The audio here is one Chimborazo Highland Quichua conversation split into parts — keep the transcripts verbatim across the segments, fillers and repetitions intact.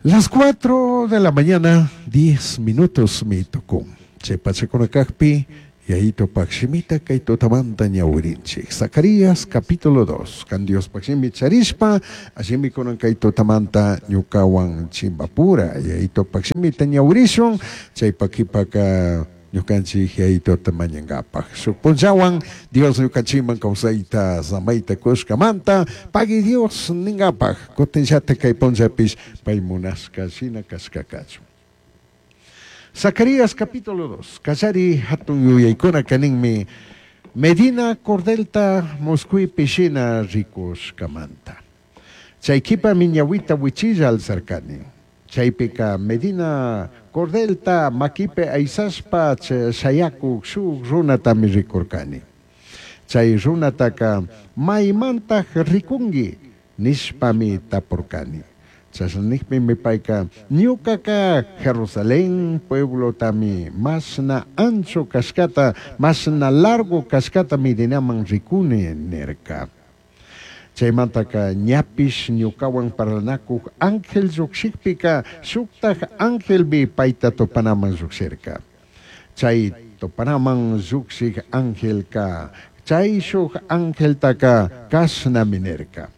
Las cuatro de la mañana, diez minutos mi tucun. Chay pachakunakaqpi Yayitupaq shimita kay tutamanta ñawirinchik. Zacarías capítulo dos. Kan Diospaq shimi charishpa, allimi kunan kay tutamanta ñukawan chimbapura. Yayitupaq shimita ñawirishun, chaypa qhipaka ñukanchik Yayituta mañankapaq. Shuk punllawan Dios ñukanchikman kawsayta samayta kushkamanta pagui Dios ninkapaq. Kutinllata kay punllapish pay munashka shina kashka kachun. Zacarías capítulo dos. Kallari hatun yuyaykuna kaninmi Medina cordelta musquypi shina rikushkamanta. Chay qhipami ñawita wichilla alzarkani. Chaypika Medina cordelta makipi aysashpa shayakuk shuk runatami rikurkani. Chay runataka maymantaq rikunki nishpami tapurkani. Chashna nijpimi payka ñukaka Jerusalén pueblotami mashna ancho kashkata, mashna largo kashkata midinaman rikuni nirka. Chaymantaka ñapish ñukawan parlanakuq ángel llukshikpika shuktaj angelmi payta tupanaman llukshirka. Chay tupanaman llukshik angelka chay shuk angeltaka kashnami nirka.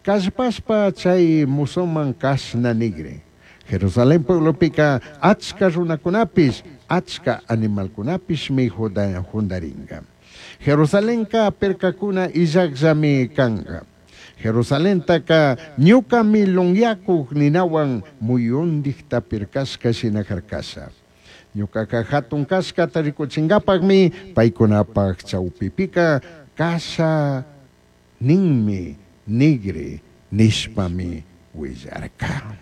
Kallpashpa chay musuman kashna nigri. Jerusalén pueblopika achka runakunapish, achka animalkunapishmi jundarinka. Jerusalenka pirkakuna illaqllami kanka. Jerusalentaka ñukami lunyakuq ninawan muyundikta pirkashka shina harkasha. Ñukaka hatun kashkata rikuchinkapaqmi paykunapaq chawpipika kasha ninmi nigri nishpami willarka.